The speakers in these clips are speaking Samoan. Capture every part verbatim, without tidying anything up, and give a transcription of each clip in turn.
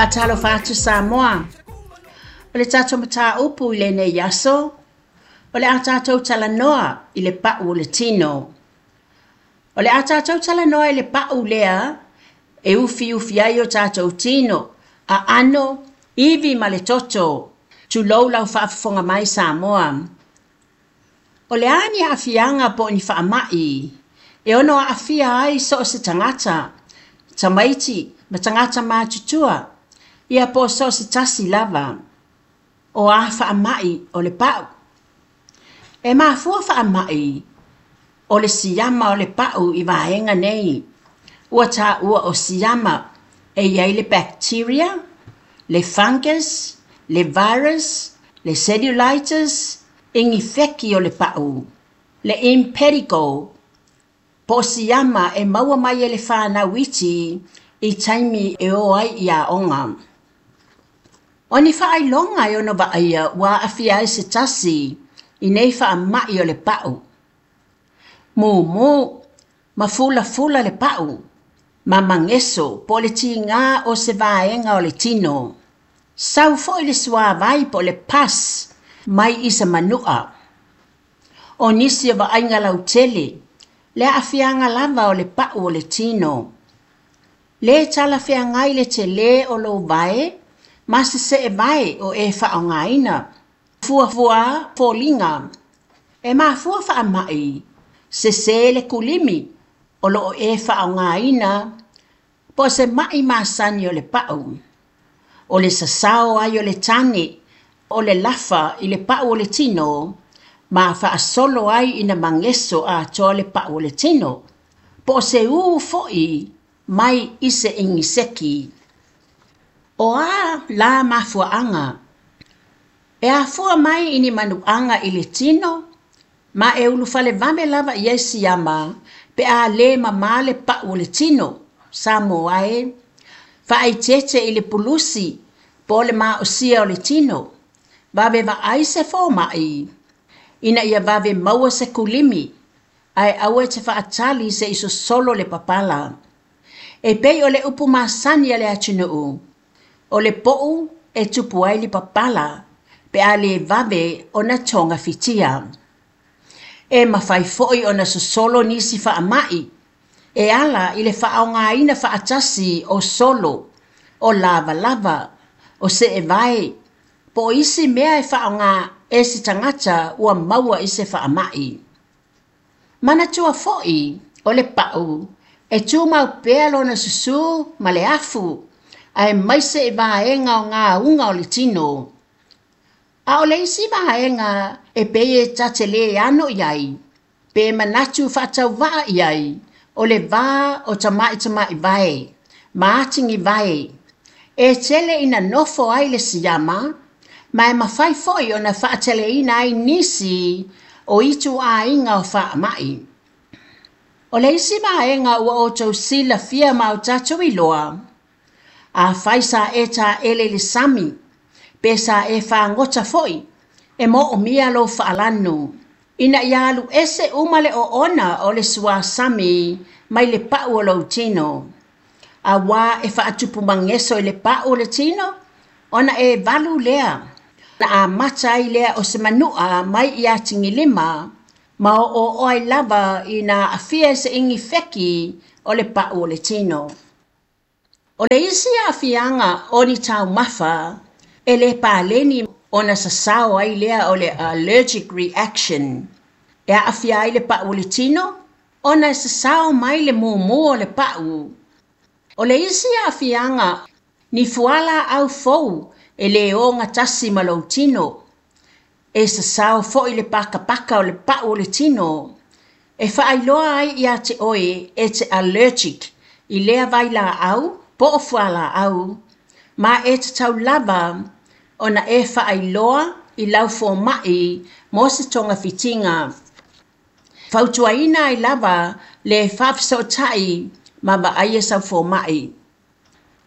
Faatalofa atu Samoa. O le tatou mataupu i lenei aso, o le a tatou talanoa i le pau o le tino. O le a tatou talanoa i le pau lea e ufiufi ai o tatou tino, aano, ivi ma le toto. Tulou lau faafofoga mai Samoa. O le a ni aafiaga po o ni faamai e ono aafia ai so o se tagata, tamaiti ma tagata matutua, ia po o so o se tasi lava. O a faamai o le pau. E mafua faamai o le siama o le pau i vaega nei. Ua taua o siama e i ai le bacteria, le fungus, le virus, le cellulitis, inifeki o le pau, le impetigo, po o siama e maua mai e le whānau iti i taimi e o ai i aoga. O ni whaailoga e ono vaaia ua aafia ai se tasi i nei faamai o le pau. Mumu ma fulafula le pau, ma mageso po o le tiga o se vaega o le tino. Sau foi le suāvai po o le pus mai i se manu'a. O nisi o vaaiga lautele, le aafiaga lava o le pau o le tino. Lē talafeagai le telē o lou vae ma se seevae o e faaaogaina. Fuafua foliga. E mafua faamai, sesē le kulimi o loo e faaaogaina po o se mai masani o le pau. O le sasao ai o le tane o le lafa i le pau o le tino ma faasolo ai ina mageso atoa le pau o le tino. Po o se ū foi mai i se igiseki. O a la mafuaaga. E afua mai i ni manuaga i le tino ma e ulufale vave lava i ai siama pe a lē mamā le pau o le tino. Samoa e, faaeteete i le pulusi po o le maosia o le tino. Vave vaai se fomai ina ia vave maua se kulimi ae aua e te faatali seʻi sosolo le papala. E pei o le upu masani a le atunuu, o le poʻu e tupu ai le papala pe a lē vave ona togafitia. E mafai foi ona sosolo nisi faamai e ala i le faaaogaina faatasi o solo, o lavalava, o seevae, po o isi mea e faaaoga e se tagata ua maua i se faamai. Manatua foi o le pau e tumau pea lona susū ma le afu aemaise i vaega o gauga o le tino. A o le isi vaega e pei e ta te lē ano i ai, pe manatu faatauvaa i ai, o le vā o tamaʻi vae, ma atigi vae. E tele ina nofo ai le siama, ma e mafai foi ona faateleina ai nisi o ituaiga o faamai. O le isi vaega ua outou silafia ma o tatou iloa, afai sa e taele i le sami, pe sa e fagota foi, e moomia lou faalanu, ina ia alu ese uma le oona o le suasami mai le pau o lou tino. Auā e faatupu mageso i le pau o le tino, ona e valu lea. Na amata ai lea o se manu'a mai i atigilima, ma oooo ai lava ina aafia i se inifeki o le pau o le tino. O le isi aafiaga o ni taumafa e lē paleni ona sasao ai lea o le allergic reaction. E aafia ai le pau o le tino, ona e sasao mai le mumu o le pau. O le isi aafiaga ni fualaau fou e lē ogatasi ma lou tino. E sasao foi le pakapaka o le pau o le tino. E faailoa ai ia te oe e te allergic i lea vailaau po o fualaau, ma e tatau lava ona e faailoa i lau fomai mo se togafitiga. Fautuaina ai lava le faafesootai ma vaaia sau fomai.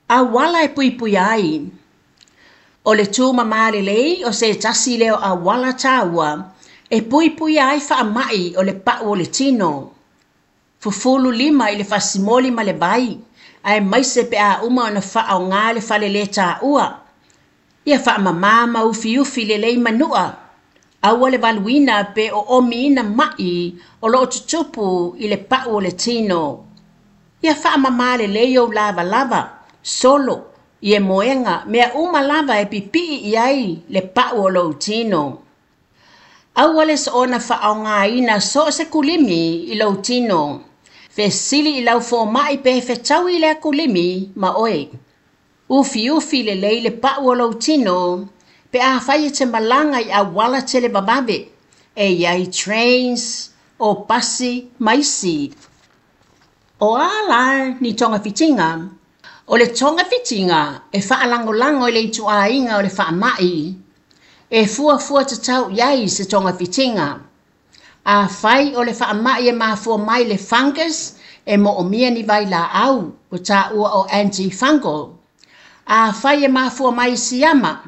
Auala e puipuia ai. O le tumamā lelei o se tasi lea o auala taua e puipuia ai faamai o le pau o le tino. Fufulu lima i le fasimoli ma le vai aemaise pe a uma ona faaaogā le falelētāʻua. Ia faamamā ma ufiufi lelei manu'a. Aua le valuina pe oomiina ma'i o loo tutupu i le pa'u o le tino. Ia faamamā lelei ou lavalava, solo, iemoega, mea uma lava e pipii i ai le pa'u o lou tino. Aua le soona faaaogāina so o se kulimi i lou tino. Fesili i lau foma'i pe fetaui lea kulimi ma oe. Ufiufi lelei le pa'u o lou tino pe afai e te malaga i auala televavave e i ai trains, o pasi ma isi. O a la ni togafitiga? O le togafitiga e faalagolago i le ituāiga o le faama'i. E fuafua tatau i ai se togafitiga. Afai o le faama'i e mafua mai le fungus, e moomia ni vailaau ua taua o antifungal. Afai e mafua mai siama,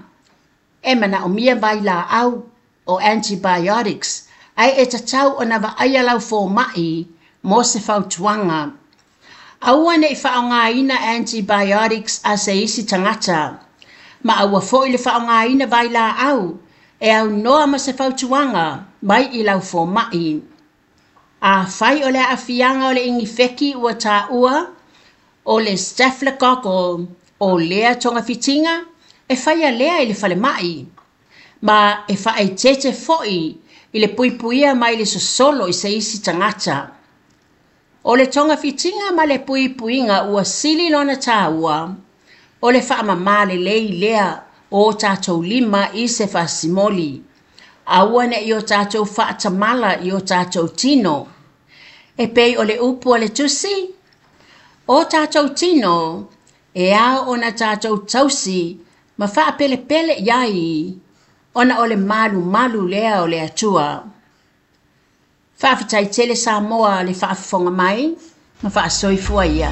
e manaomia vailaau o antibiotics, ae e tatau ona vaaia lau foma'i mo se fautuaga. Aua ne'i faaaogāina antibiotics a se isi tagata, ma aua fo'i le faaaogāina vailaau e aunoa ma se fautuaga mai i lau foma'i. Afai o le aafiaga o le inifeki ua taua o le staphylococcal, o lea togafitiga e faia lea i le falema'i, ma e faaeteete fo'i i le puipuia mai le sosolo i se isi tagata. O le togafitiga ma le puipuiga ua sili lona tāua, o le faamamā lelei lea o o tatou lima i se fasimoli. Aua ne'i o tatou faatamala i o tatou tino. E pei o le upu a le Tusi, o tatou tino e ao ona tatou tausi ma faapelepele i ai, ona o le malumalu lea o le Atua. Faafetai tele Samoa le faafofoga mai ma faasoifua ia.